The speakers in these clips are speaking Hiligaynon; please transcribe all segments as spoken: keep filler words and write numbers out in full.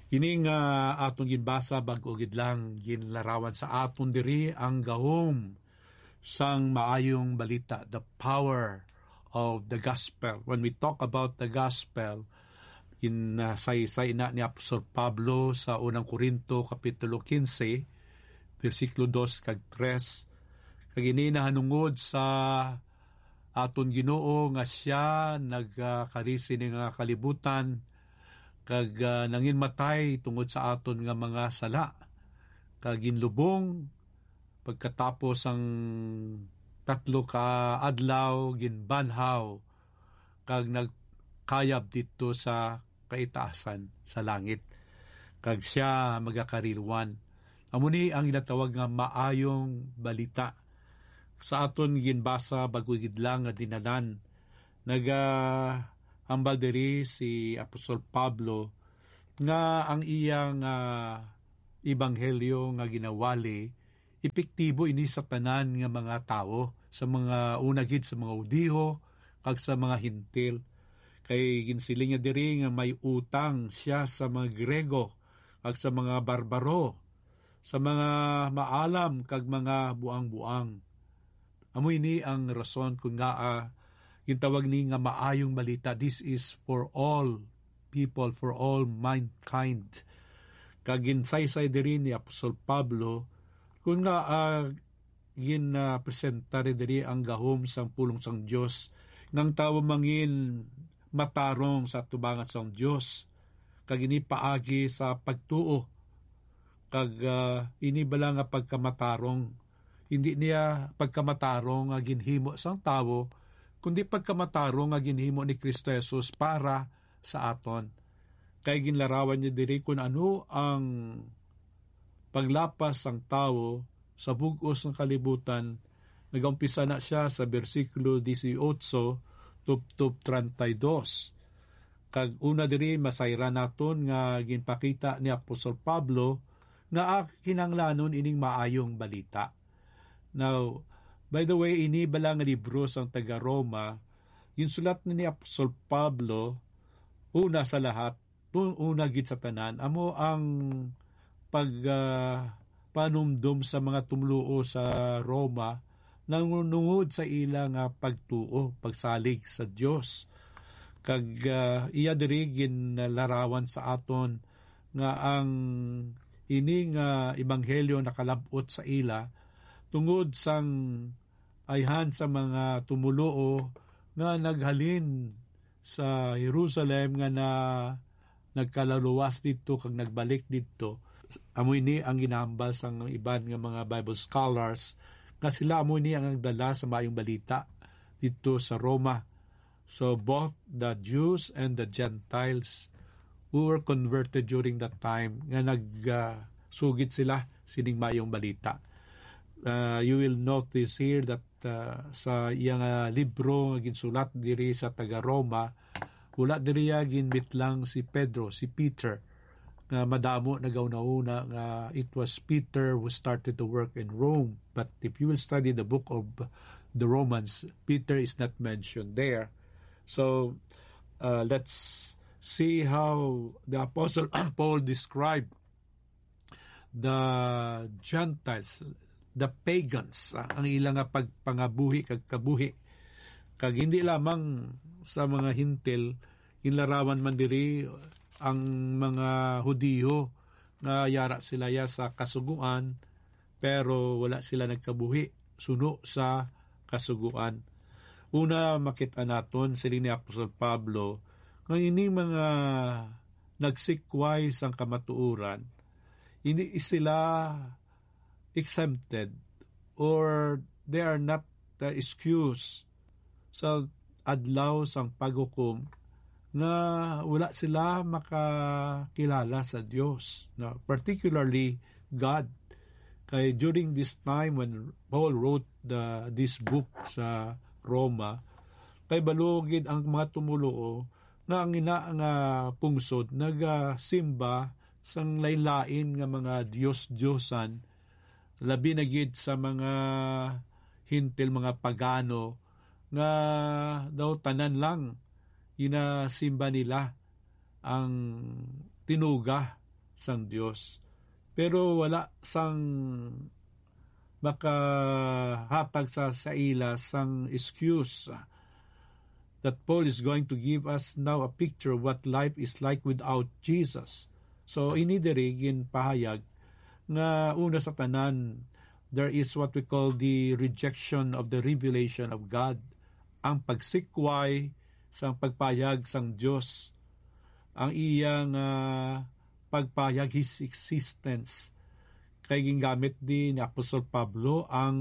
Ini nga aton ginbasa bag-o gid lang ginlarawan sa aton diri ang gahom sang maayong balita, the power of the gospel. When we talk about the gospel, in uh, saysay na ni Apostol Pablo sa unang Corinto kapitulo quince, bersikulo dos kag tres, kag ini nahanungod sa aton Ginoo nga siya nagkari sini nga kalibutan kag ah, nanginmatay tungod sa aton nga mga sala, kag ginlubong pagkatapos ang tatlo ka adlaw ginbanhaw kag nagkayab didto sa kaitaasan sa langit, kag sia magakariluan. Amo ni ang ginatawag nga maayong balita. Sa aton ginbasa, bag-o gid lang nga dinanan, nagahambal diri si Apostol Pablo nga ang iya nga ebanghelyo nga ginawali epektibo ini sa tanan nga mga tawo, sa mga una gid sa mga Hudiho kag sa mga Hentil. Kay ginsiling niya diri nga may utang sia sa mga Griego kag sa mga barbaro, sa mga maalam kag mga buang-buang. Amo ini ang rason kon ngaa gintawag ni nga maayong balita. This is for all people, for all mankind. Kag ginsaysay diri ni Apostol Pablo kon ngaa gin uh, presenta diri ang gahom sang pulong sang Dios, nga ang tawo mangin matarong sa atubangan sang Dios, kag ini paagi sa pagtuo. Kag ah, ini bala nga pagkamatarong, hindi niya pagkamatarong nga ginhimo sang tawo, kundi pagkamatarong nga ginhimo ni Cristo Jesus para sa aton. Kay ginlarawan niya diri kun ano ang paglapas sang tawo sa bug-os nga kalibutan. Nagaumpisa na sia sa bersikulo dieciocho tubtob treinta y dos. Kag una diri, masayran naton nga ginpakita ni Apostol Pablo nga kinahanglanon ining maayong balita. Now, by the way, ini bala nga libro sang taga-Roma, ginsulat na ni Apostol Pablo, una sa lahat, tun-, una gid sa tanan, amo ang pag, ah, panumdom sa mga tumluo sa Roma nangungod sa ila nga pagtuo, pagsalig sa Dios. Kag, ah, iya diri ginlarawan sa aton nga ang ini nga ebanghelyo nakalab-ot sa ila tungod sang ayhan sa mga tumoluo nga naghalin sa Jerusalem nga na nagkalaluwas didto kag nagbalik didto. Amo ini ang ginahambal sang iban nga mga Bible scholars, nga sila amo ini ang nagdala sa Maayong Balita didto sa Roma. So both the Jews and the Gentiles who were converted during that time, nga nag, ah, sugid sila sining Maayong Balita. Ah, you will notice here that ah, sa iya nga libro nga ginsulat diri sa taga-Roma, wala diri iya ginbitlang si Pedro, si Peter, nga madamo nagauna-una nga it was Peter who started the work in Rome. But if you will study the book of the Romans, Peter is not mentioned there. So, uh, let's see how the Apostle Paul described the Gentiles, the pagans, ah, ang ila nga pagpangabuhi kag kabuhi. Kag hindi lamang sa mga Hintil, ginlarawan man diri ang mga Hudiyo nga yara sila ya sa Kasugoan, pero wala sila nagkabuhi suno sa Kasugoan. Una, makit-an naton, siling ni Apostol Pablo, nga ining mga nagsikway sang kamatuoran, hindi sila exempted, or they are not, uh, excused sa adlaw sang paghukom nga wala sila makakilala sa Dios, no? Particularly God. Kay during this time when Paul wrote the, this book sa Roma, kay balo gid ang mga tumoluo nga ang ina nga pungsod nagasimba sang lain-lain nga mga dios-diosan, labi na gid sa mga Hintil, mga pagano, nga daw tanan lang ginasimba nila ang tinuga sang Dios. Pero wala sang makahatag sa, sa ila sang excuse, ah, that Paul is going to give us now a picture of what life is like without Jesus. So, ini diri ginpahayag nga una sa tanan, there is what we call the rejection of the revelation of God, ang pagsikway sang pagpahayag sang Dios, ang iya nga pagpahayag, his existence. Kay gingamit di ni Apostol Pablo ang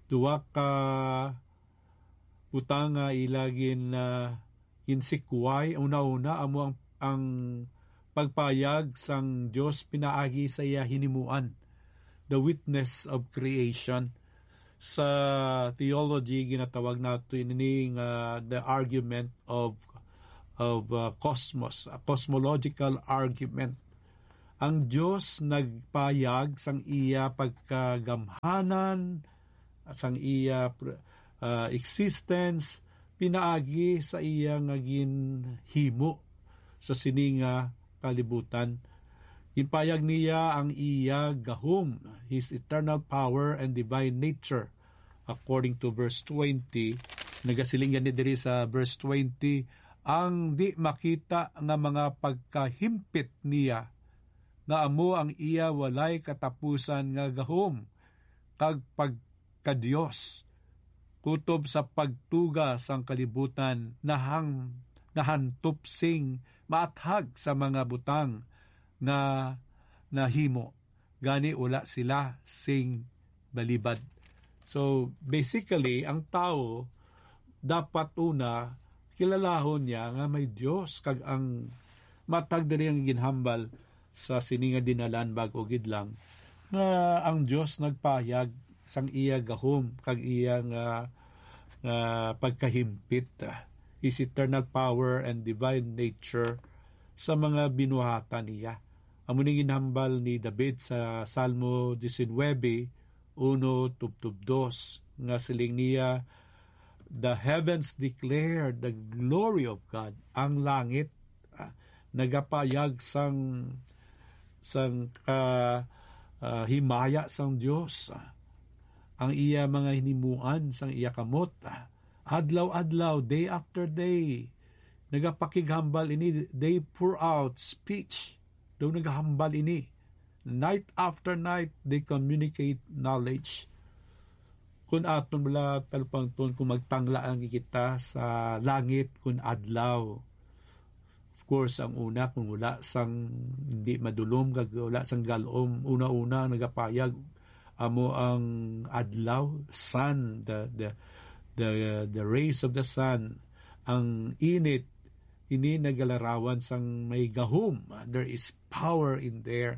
duha ka butang nga ila gin, ah, ginsikway. Una-una, amo ang, ang pagpayag sang Dios pinaagi sa iya hinimuan, the witness of creation. Sa theology, ginatawag nato ini nga the argument of, of, uh, cosmos, a cosmological argument. Ang Dios nagpayag sang iya pagkagamhanan, sang iya pr-, uh, existence, pinaagi sa iya nga ginhimo sa sini nga kalibutan. Ginpayag niya ang iya gahom, his eternal power and divine nature. According to verse twenty, nagasiling gani diri sa verse twenty, ang di makita nga mga pagkahimpit niya, nga amo ang iya walay katapusan nga gahom kag pagka-Dios, kutob sa pagtuga sang kalibutan, nahang-, nahantop sing maathag sa mga butang nga nahimo, gani wala sila sing balibad. So, basically, ang tawo dapat una kilalahon niya nga may Dios, kag ang matag diri ang ginhambal sa sini nga dinalan bag-o gid lang, nga ang Dios nagpayag sang iya gahom kag iya nga, nga pagkahimpit, ah, his eternal power and divine nature sa mga binuhatan niya. Amo ni ginhambal ni David sa Salmo diecinuebe, uno tubtob dos, nga siling niya, "The heavens declare the glory of God." Ang langit, ah, nagapayag sang, sang ka-, ah, himaya sang Dios, ah, ang iya mga hinimuan sang iya kamot, ah. Adlaw-adlaw, day after day, nagapakighambal ini, they pour out speech. Daw nagahambal ini. Night after night, they communicate knowledge. Kung aton bala talupangton, kung magtangla lang kita sa langit kung adlaw, of course, ang una, kung wala sang, hindi madulom, kag wala sang galom, una-una nagapayag amo ang adlaw, sun, the, the, the, the rays of the sun, ang init, ini nagalarawan sang may gahom. There is power in there.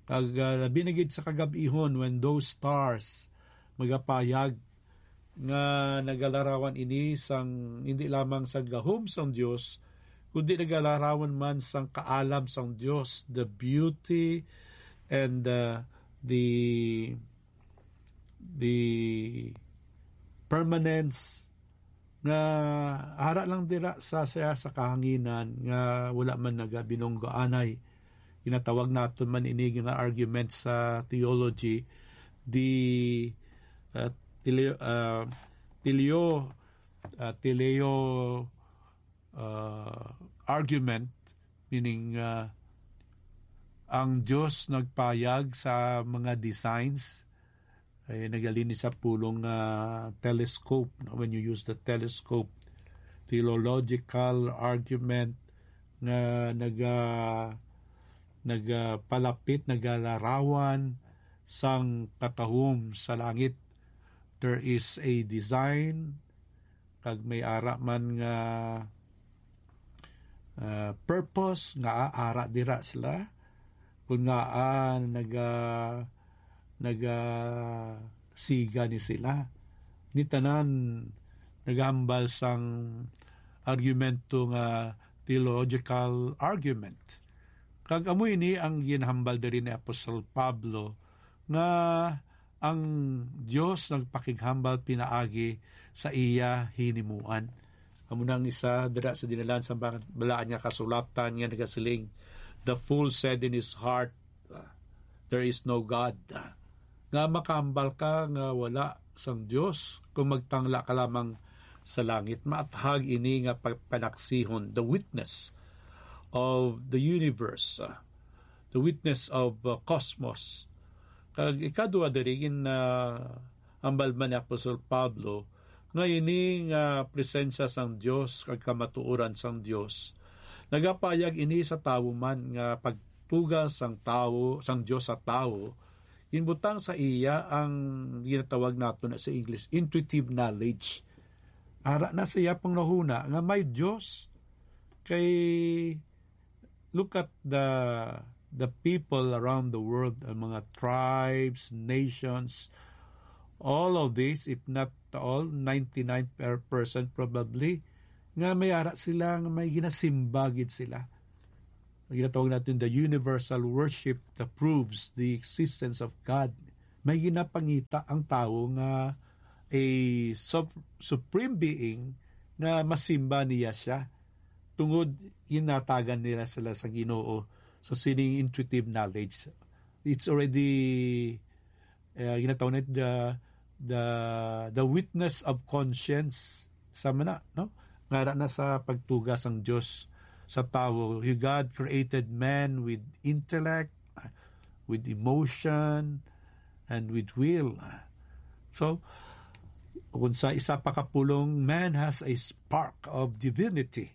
Kag, ah, labi na gid sa kagab-ihon, when those stars magapayag, nga nagalarawan ini sang, hindi lamang sa gahom sang Dios, kundi nagalarawan man sang kaalam sang Dios, the beauty and, uh, the, the permanence, nga ara lang dira sa, sa, sa kahanginan, nga wala man nagabinunggo anay. Ginatawag naton man ini nga argument sa theology, the, uh, teleo-, uh, teleo-, uh, teleo-, uh, argument, meaning, uh, ang Dios nagpayag sa mga designs, ay nagalini sa pulong nga telescope, no? When you use the telescope, theological argument nga naga-, nagapalapit, nagalarawan sang katahom sa langit. There is a design, kag may ara man nga, ah, purpose nga ara dira sila, kun ngaa naga-, nagasiga ni sila. Ni tanan nagahambal sang argumento nga theological argument. Kag amo ini ang ginhambal diri ni Apostol Pablo, nga ang Dios nagpakighambal pinaagi sa iya hinimuan. Amo na ang isa dira sa dinalan sa ba-, balaan nga kasulatan nga nagasiling, The fool said in his heart, "There is no God." Nga makahambal ka nga wala sang Dios kung magtangla ka lamang sa langit. Maathag ini nga pagpanaksihon, the witness of the universe, ah, the witness of, uh, cosmos. Kag ikadua diri gin, ah, hambal man ni Apostol Pablo nga ini nga presensya sang Dios kag kamatuoran sang Dios nagapayag ini sa tawo man nga pagtuga sang tawo, sang Dios sa tawo, ginbutang sa iya ang ginatawag nato na sa English intuitive knowledge. Ara na siya panghunahuna nga may Dios. Kay look at the the people around the world, ang mga tribes, nations, all of this, if not all, ninety-nine percent probably, nga may ara sila, nga may ginasimba gid sila. Ang ginatawag natin the universal worship that proves the existence of God. May ginapangita ang tawo nga a sup-, supreme being nga masimba niya siya. Tungod ginatagan nila sila sa Ginoo sa sining intuitive knowledge. It's already, uh, ginatawag na the, the, the witness of conscience. Sama na, no? Ngara na sa pagtuga sang Dios sa tawo. God created man with intellect, with emotion, and with will. So, kung sa isa pa ka pulong, man has a spark of divinity.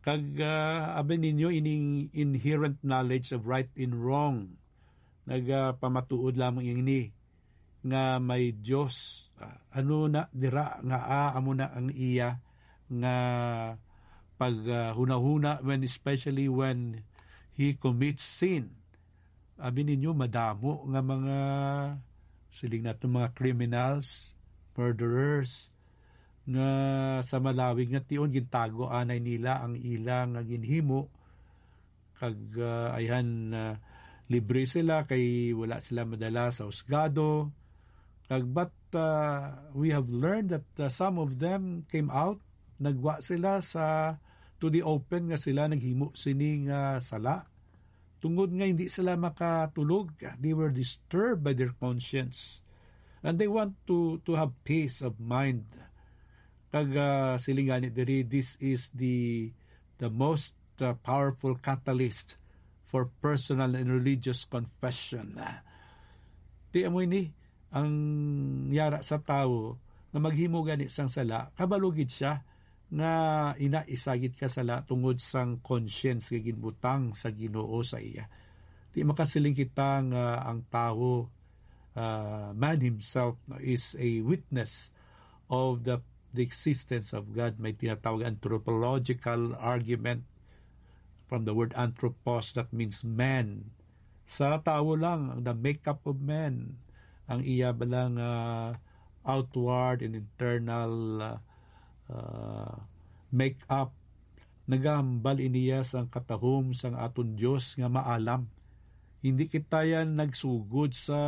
Kag, ah, abi ninyo, ining inherent knowledge of right and wrong, nagapamatuod lamang ini nga may Dios. Ah, ano na dira nga, ah, amo na ang iya nga pag, ah, hunahuna when, especially when he commits sin. Abi ninyo, madamo nga mga, siling nato, mga criminals, murderers, nga sa malawig nga tion gintago anay nila ang ila nga ginhimo, kag, ah, ayhan, ah, libre sila kay wala sila madala sa husgado. Kag, but, ah, we have learned that, ah, some of them came out, nagwa sila sa, to the open, nga sila naghimo sini nga sala. Tungod nga hindi sila makatulog, they were disturbed by their conscience. And they want to, to have peace of mind. Kag, ah, siling gani diri, this is the, the most, ah, powerful catalyst for personal and religious confession. Ti amo ini ang yara sa tawo nga maghimo gani sang sala, kabalo gid siya nga ina isa gid ka sala tungod sang conscience nga ginbutang sa Ginoo sa iya. Di makasiling kita nga ang tawo, ah, man himself, no, is a witness of the, the existence of God. May tinatawag anthropological argument from the word anthropos, that means man. Sa tawo lang, ang the makeup of man, ang iya bala nga outward and internal, ah, ah, makeup, nagahambal iniya sang katahom sang aton Dios nga maalam. Hindi kita yan nagsugod sa,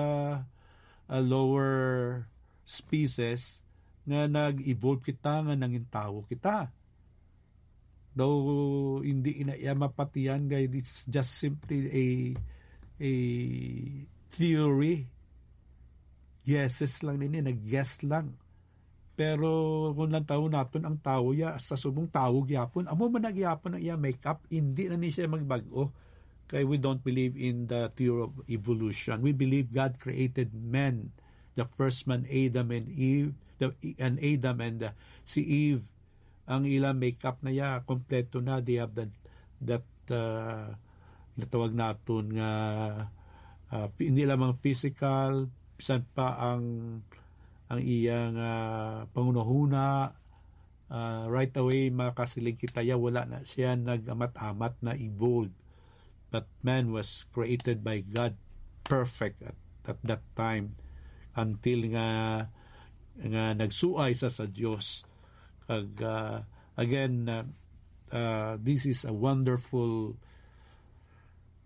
ah, lower species nga nag-evolve kita, nga nangin tawo kita. Daw hindi ina iya mapatihan, kay it's just simply a, a theory. Guesses lang nini, nag-guess lang. Pero kung lang tawo naton ang tawo ya, sa subong tawo gyapon, amo man na gyapon ang iya makeup, hindi na ni siya magbag-o. Kay we don't believe in the theory of evolution. We believe God created men, the first man, Adam and Eve, the, and Adam and, uh, si Eve. Ang ila makeup na ya, kompleto na. They have that, that, uh, natawag naton nga, uh, pi-, hindi lamang physical, bisan pa ang, ang iyang, uh, panghunahuna, uh, right away makasiling kita ya, wala na siya nag-amat-amat, na evolved. But man was created by God, perfect at, at that time, until nga, nga nagsuay sa, sa Dios. Kag, ah, again, ah, ah, this is a wonderful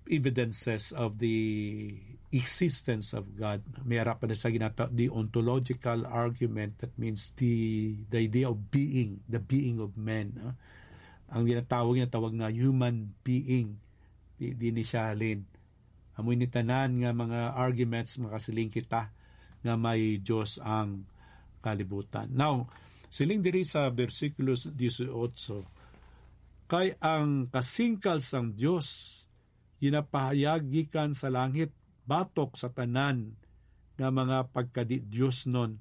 evidences of the existence of God. May ara pa na sa ginata-, the ontological argument, that means the, the idea of being, the being of man, ah. Ang ginatawag, ginatawag nga human being. Di, di ni siya halin. Amo ini tanan nga mga arguments, makasiling kita nga may Dios ang kalibutan. Now, siling diri sa bersikulo dieciocho, "Kay ang kasingkal sang Dios ginapahayag gikan sa langit batok sa tanan nga mga pagkadi-diosnon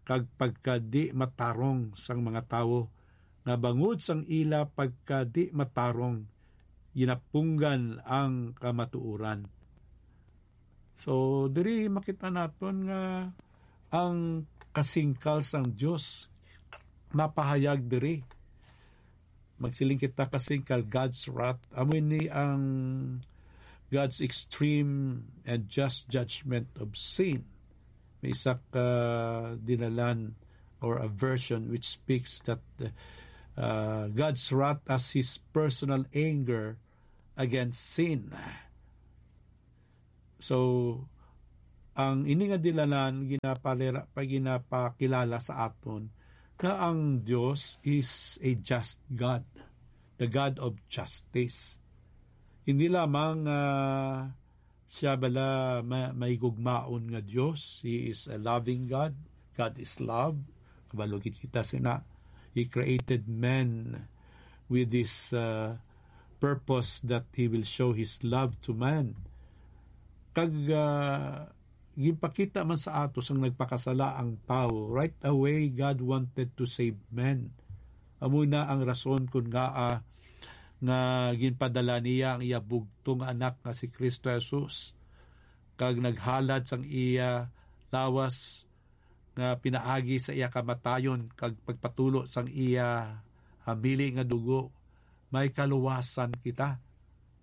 kag pagkadi-matarong sang mga tawo, nga bangod sang ila pagkadi-matarong ginapunggan ang kamatuoran." So, diri makita naton nga ang kasingkal sang Dios napahayag diri. Magsiling kita, kasingkal, God's wrath. Amo ini ang God's extreme and just judgment of sin. May isa ka dinalan or a version which speaks that, uh, God's wrath as his personal anger against sin. So, ang ini nga dilanan ginapalira pa, ginapakilala sa aton nga ang Dios is a just God, the God of justice. Hindi lamang, ah, siya bala ma-, may gugmaon nga Dios. He is a loving God. God is love. Kabalo gid kita sina. He created men with this, uh, purpose that he will show his love to man. Kag, uh, ginpakita man sa ato sang nagpakasala ang tawo, right away God wanted to save man. Amo na ang rason kun ngaa nga ginpadala niya ang iya bugtong anak nga si Kristo Jesus, kag naghalad sang iya lawas nga pinaagi sa iya kamatayon kag pagpatulo sang iya hamili nga dugo, may kaluwasan kita.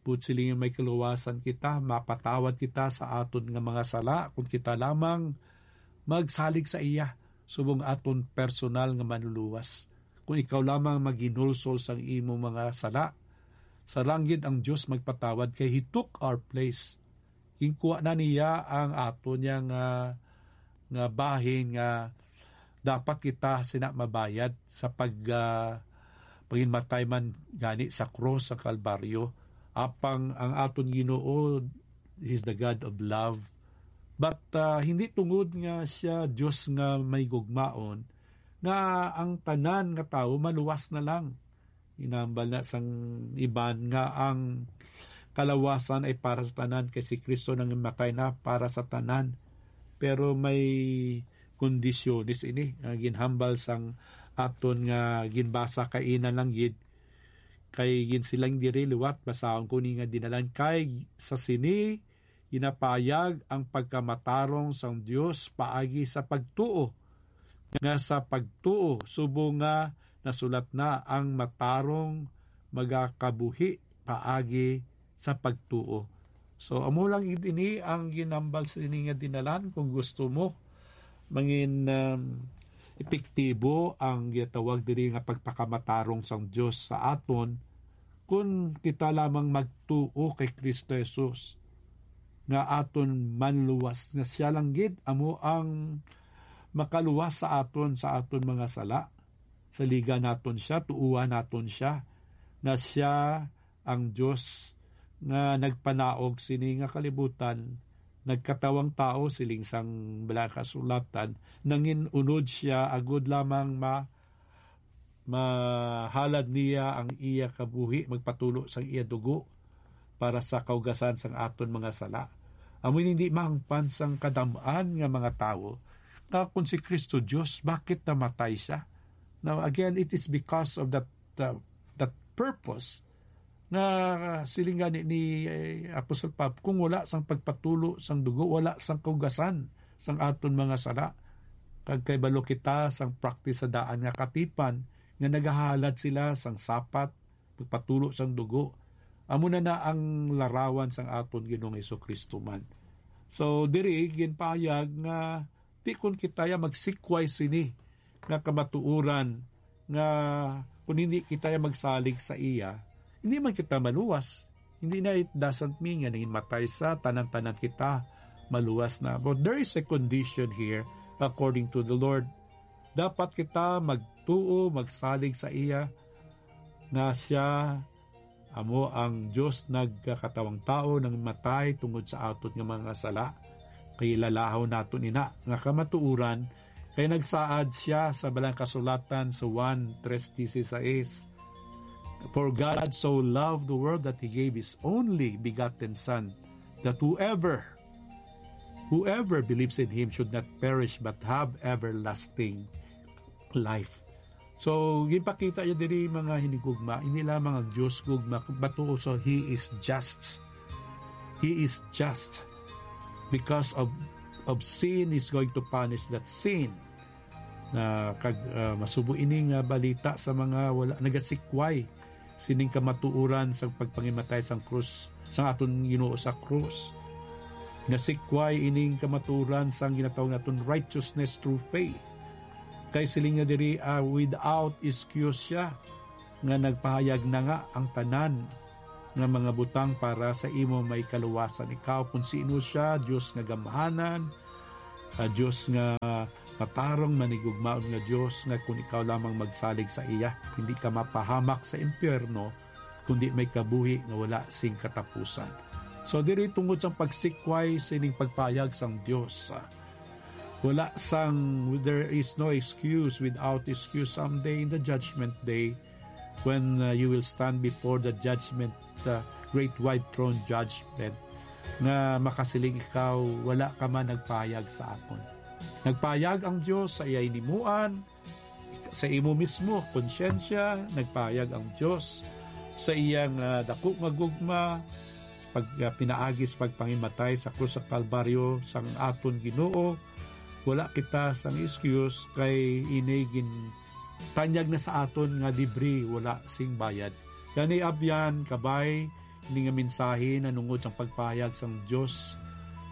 Buot silingon, may kaluwasan kita, mapatawad kita sa aton nga mga sala, kung kita lamang magsalig sa iya subong aton personal nga manluluwas. Kung ikaw lamang maghinulsol sang imo mga sala, sa langit ang Dios magpatawad, kay He took our place. Ginkuha na niya ang aton niya nga, nga bahin nga dapat kita sina mabayad sa pag, ah, paghinmatay man gani sa krus sa Kalbaryo. Apang ang aton Ginoo is the God of love. But, ah, hindi tungod nga siya Dios nga may gugmaon, nga ang tanan nga tawo maluwas na lang. Ginhambal na sang iban nga ang kalawasan ay para sa tanan, kay si Kristo nangimatay na para sa tanan. Pero may kondisyones ini nga ginhambal sang aton nga ginbasa kaina lang gid, kay ginsiling diri liwat, basahon ko ni nga dinalan, kay sa sini ginapahayag ang pagkamatarong sang Dios paagi sa pagtuo, nga sa pagtuo, subong nga nasulat na, ang matarong magakabuhi paagi sa pagtuo. So, amo lang gid ini ang ginhambal sini nga dinalan. Kung gusto mo mangin, um, epektibo ang ginatawag diri nga pagpakamatarong sang Dios sa aton, kun kita lamang magtuo kay Kristo Jesus nga aton manluwas, nga siya lang gid amo ang makaluwas sa aton, sa aton mga sala. Saligan naton siya, tuohan naton siya, nga siya ang Dios nga nagpanaog sini nga kalibutan, nagkatawang tawo, siling sang Balaang Kasulatan, nangin-unod siya agud lamang ma-, mahalad niya ang iya kabuhi, magpatulo sang iya dugo para sa kaugasan sang aton mga sala. Amo ini hindi mahangpan sang kadam-an nga mga tawo nga kung si Kristo Dios, bakit namatay siya? Now, again, it is because of that, uh, that purpose nga siling gani ni, eh, Apostle Pab, kung wala sang pagpatulo sang dugo, wala sang kaugasan sang aton mga sala. Kag kay balo kita sang practice sa daan nga katipan, nga nagahalad sila sang sapat, pagpatulo sang dugo. Amo na na ang larawan sang aton Ginoong Jesu-Cristo man. So, diri, ginpahayag nga di kon kita ya magsikway sini nga kamatuoran, nga kung hindi kita ya magsalig sa iya, hindi man kita maluwas. Hindi na, it doesn't mean nga nangin matay sa tanan-tanan kita maluwas na. But there is a condition here, according to the Lord. Dapat kita magtuo, magsalig sa iya, nga siya Amo ang Dios nagkakatawang tawo, nangmatay tungod sa aton nga mga sala. Kay lalahaw naton ina nga kamatuoran, kay nagsaad sia sa Balang Kasulatan sa Juan tres dieciséis, "For God so loved the world that He gave His only begotten Son, that whoever, whoever believes in Him should not perish but have everlasting life." So, gipakita niya diri, mga hinigugma, hindi lamang ang Dios gugma, but also He is just. He is just. Because of, of sin, He's going to punish that sin. Na kag, ah, masubo ini nga balita sa mga wala nagasikway sining kamatuoran sang pagpangimatay sang krus, sang aton Ginoo sa krus. Nasikway ining kamatuoran sang ginatawag naton righteousness through faith. Kay siling nga diri, ah, without excuse siya nga nagpahayag na nga ang tanan nga mga butang para sa imo may kaluwasan. Ikaw, kung sino siya, Dios nga gamhanan, ah, Dios nga matarong, manigugmaon nga Dios, nga kung ikaw lamang magsalig sa iya, hindi ka mapahamak sa impyerno, kundi may kabuhi nga wala sing katapusan. So, diri tungod sang pagsikway sining pagpayag sang Dios, ah, wala sang, there is no excuse without excuse someday in the judgment day when, uh, you will stand before the judgment, uh, great white throne judgment, nga makasiling ikaw, "Wala ka man nagpayag sa akon." Nagpayag ang Dios sa iya hinimuan, sa imo mismo konsyensya, nagpayag ang Dios sa iyang, ah, dako nga gugma, pag, ah, pinaagi sa pagpangimatay sa krus sa Kalbaryo sang aton Ginoo. Wala kita sang excuse kay ini gin-, tanyag na sa aton nga libre, wala sing bayad. Gani, abyan, kabay, ini nga mensahe nanungod sang pagpahayag sang Dios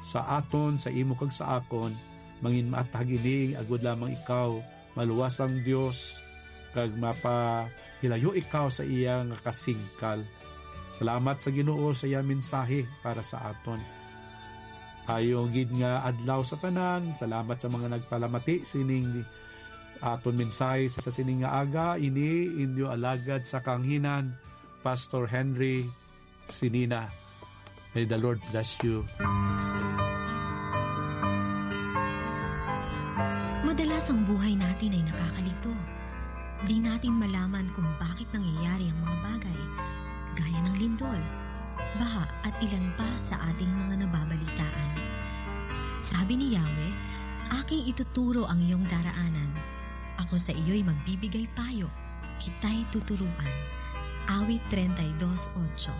sa aton, sa imo kag sa akon, mangin maatag ini, agod lamang ikaw maluwas ang Dios, kag mapahilayo ikaw sa iya nga kasingkal. Salamat sa Ginoo sa iya mensahe para sa aton. Ayo gid nga adlaw sa tanan. Salamat sa mga nagpalamati sining aton mensahe sa sining nga aga. Ini inyo alagad sa kaanghinan, Pastor Henry Sinina. May the Lord bless you. Madalas ang buhay natin ay nakakalito. Di natin malaman kung bakit nangyayari ang mga bagay, gaya ng lindol, baha at ilan pa sa ating mga nababalitaan. Sabi ni Yahweh, "Aking ituturo ang iyong daraanan. Ako sa iyo'y magbibigay payo. Kita'y tuturuan." Awit treinta y dos ocho.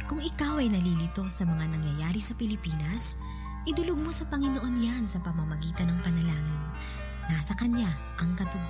Kung ikaw ay nalilito sa mga nangyayari sa Pilipinas, idulog mo sa Panginoon yan sa pamamagitan ng panalangin. Nasa Kanya ang katuguran.